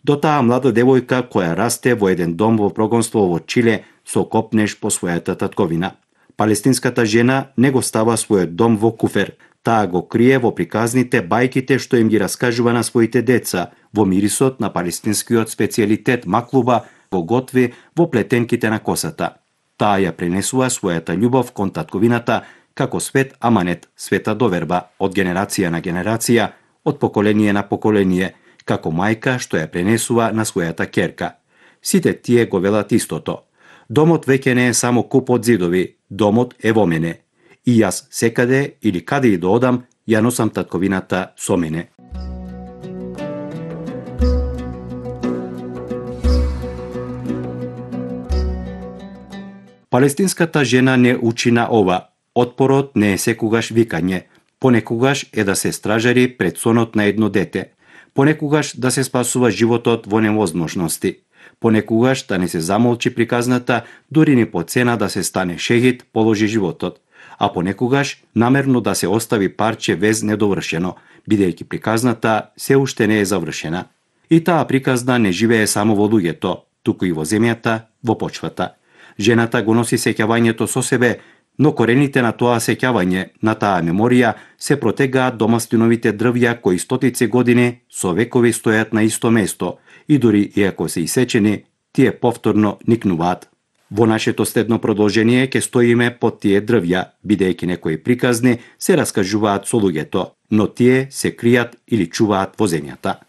до таа млада девојка која расте во еден дом во прогонство во Чиле со копнеш по својата татковина. Палестинската жена не го става својот дом во куфер, таа го крие во приказните, бајките што им ги раскажува на своите деца, во мирисот на палестинскиот специјалитет маклуба, го готви во плетенките на косата. Таа ја пренесува својата љубов кон татковината како свет аманет, света доверба, од генерација на генерација, од поколение на поколение, како мајка што ја пренесува на својата ќерка. Сите тие го велат истото. Домот веќе не е само куп од зидови, домот е во мене. И јас секаде или каде и да одам, ја носам татковината со мене. Палестинската жена не учи на ова. Отпорот не е секогаш викање. Понекогаш е да се стражари пред сонот на едно дете. Понекогаш да се спасува животот во невозможности. Понекогаш да не се замолчи приказната, дури ни по цена да се стане шехид, положи животот. А понекогаш намерно да се остави парче вез недовршено, бидејќи приказната се уште не е завршена. И таа приказна не живее само во луѓето, туку и во земјата, во почвата. Жената го носи сеќавањето со себе, но корените на тоа сеќавање, на таа меморија, се протегаат до мастиновите дрвја кои стотици години со векови стојат на исто место и дури иако се исечени, тие повторно никнуваат. Во нашето следно продолжение ќе стоиме под тие дрвја, бидејќи некои приказни се раскажуваат со луѓето, но тие се кријат или чуваат во земјата.